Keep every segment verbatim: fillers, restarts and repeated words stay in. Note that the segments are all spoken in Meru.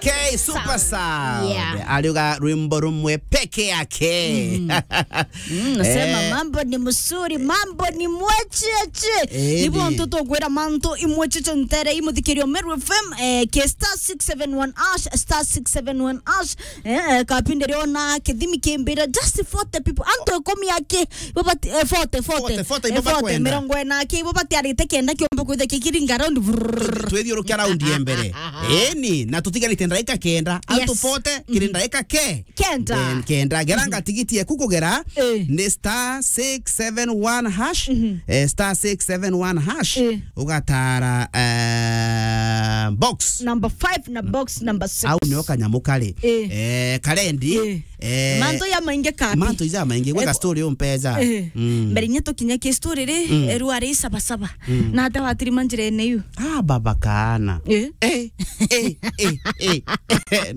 K Super Sound. Yeah. Ariuga rwimbo rumwe peke yake. Mm. Mm, nasema, eh, mambo ni mzuri, mambo ni mwecheche. Eh, nibo ntutu gwira mantu imwecheche ntere imuthikirio Meru F M, eh, ke star six seven one hash, star six seven one hash. Eh, eh, kapinde riona kithimi kimbira just forty people. Antu ikumi aki, ibo bati, eh, forty, forty. Forty, forty, ibo bakwenda. Mirongo ina aki, ibo batiarite kenda kiomba kwithia kikiringa round. Vrrrr. Twithiurukia round ya mbere. Eni, na tutigarite ndaika kenda. Antu, yes, forty, kiri ndaika ke? Kenda. Then kenda. Geranga tigiti yaku kugera, eh, ni star six seven one hash, eh, star six seven one hash, eh, ugatara, eh, box number five na box number six. Au nio kanyamu kari. Eh. Eh, karendi. Eh. Eh, mantu ya maingi kapi? Mantu ya maingi, gweka, eh, story umpeza. Eh. Mm. Mbere nye tukinya ki story ri, mm, eru ari Sabasaba. Mm. Na ata watirima njirene yu. Ah, baba kana. Eh. Eh, eh, eh, eh.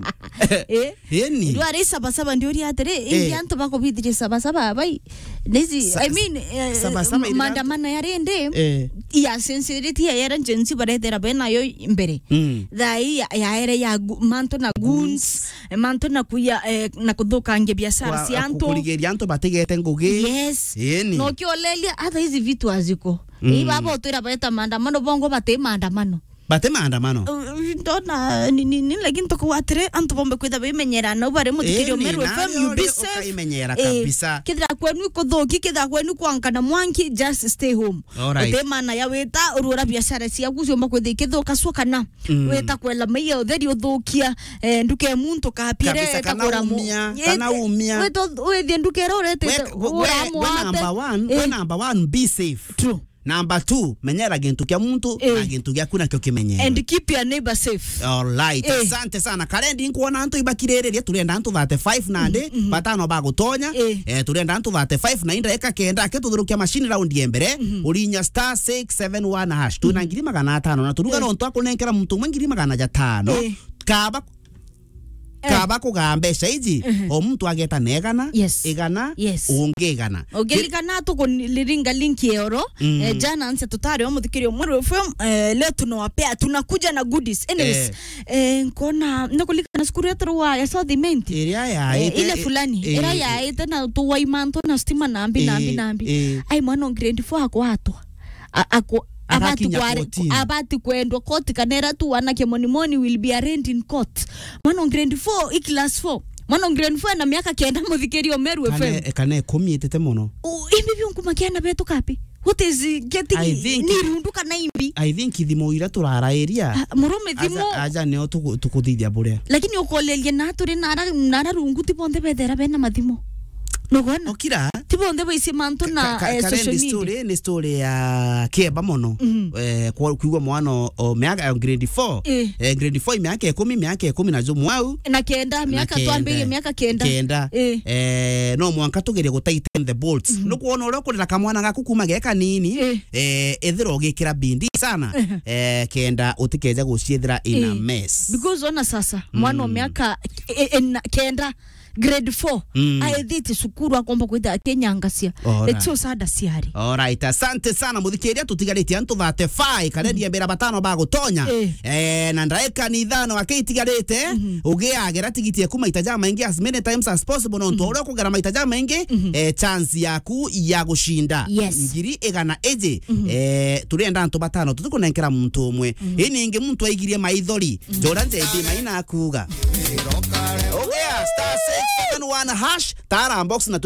Eh? Eni. Riu ari Sabasaba ndiuria atiri, eh, ingi antu bakubithirie Sabasaba abai? Nisi, sa-, I mean, eh, Sabasaba iri maandamano ya rindi, eh, ya sensitivity ya era Gen Z barethera benayo mbere. Mm. Thaa ii ya, ya era ya gu-, mantu na goons, eh, mantu na kuya, eh, na kuthukangia biashara cia antu. Kurigiria antu batigete ngugi. Yes. Eni. No kiolelia, hata hizi vitu haziko. Mm. Ii baba utwira beta maandamano, bongo bati maandamano. Bate maandamano. Uh, ndona ni, ni, ni, lakini tukuwa atiri, antu bombe kwitha bimenyera, na ubare muthikirio Meru F M, you be safe. Ukaimenyera kabisa. Kithira kwenu ikuthuki, kithira kwenu kwankana mwanki, just stay home. Alright. Uti maana ya wita, urura biashara ciaku ciomba kwitha ikithuka cukana. Mm. Wita kwela maiya utheri uthukia, eh, nduke muntu kapire, kabisa, kana kagura mu-, umia, eh, kana umia. Wita withie nduke ira uretete, we, we, ura we mwate. Number one, we, eh, number one, be safe. True. Number two, menyera gintu kia muntu, eh, na gintu giaku nakio kimenyere. And keep your neighbor safe. Alright, eh, asante sana. Karendi nkuona antu ibakiriririe, turenda antu thirty-five nandi, mhm, mhm, batano bagutonya. Eh. Eh, turenda antu thirty-five na inda eka kenda, ke tuthurukia machine round ya mbere, mhm, urinya star six seven one hash. Twina, mhm, ngiri magana atano, na turuga, eh, no twakunenkera muntu umwe ngiri magana jatano. Eh. Kaba Eh. Kaba kugaa mbeca iji, mhm, o muntu ageta na igana, yes, igana, yes, ungi igana. Ukiririkana tukuliringa link ya oro, mm, eh, jana nse tutari o muthikirio Meru F M, eh, leo tunawapea, tunakuja na goodies. Anyways, eh, eh, nkona, nakulikana cukuru yetu rwa ya South Imenti. Iria ya, eh, ite, ile fulani, eh, iria eh, yaite na tuwai mantu na stima na mbi, na mbi, eh, na mbi. Eh. Ai, mwana o grade four akwatwa. A-, ako-, abati agakinya kware-, courtini. Abati kwendwa court, kana era tu wanake monimoni will be arraigned in court. Mwana o grade four, i class four. Mwana o grade four ena miaka kenda, muthikirio Meru F M. Kana e-, kana ikumi itete mono. U-, imbi biu nkuma kiana betu kapi? What is getting, I think ni rundu kana imbi? I think thimo ira turarairia. Ah, murume thimo. Aja, aja nio tuku-, tukuthithia buria. Lakini ukoleria na turi nara, nara rungu ti bonthe bethera bena mathimo. Nugona? Okira. Ti bonthe baici mantu na, ka-, ka-, eh, social media. Story, ni story ya kieba mono. Mhm. Eh, kwa-, kwigua mwana o, o miaka, eh, grade four. Eh. Eh, grade four, miaka ikumi, miaka ikumi na jumwe au. Na kenda, na miaka kenda. Twambirie miaka kenda. Kenda. Eh. Eh, no mwanka tugerie gu tighten the bolts. Mhm. Nukwona uria ukurira kamwana gaku kuma ge kanini, eh, eh, ethira ugikira bindi sana, eh, kenda utikeja guciethira in a mess. Because ona sasa, mwana o miaka, eh, eh, na-, kenda, grade four, mm, aethite cukuru akomba kwithira akinyangacia. Alright. It's so sad, aciari. Alright, asante sana muthikiria, tutigaritie antu thirty-five, karendi mbira batano bagutonya. Eh. Eh, na ndaika ni ithano akitigarite, mhm, ugiagera tigiti eku maita jamaingi as many times as possible, nontu, mhm, uria ukugera maita jamaingi, mhm, eh, chance yaku ya gucinda, yes, ngiri igana iji. Mhm. Eh, turenda antu batano, tutikunenkera muntu umwe. Mhm. Ini ingi muntu aigirie maithori, mhm, jora njendi maina akuga. Ogia, star six seven one hash, tara box na tu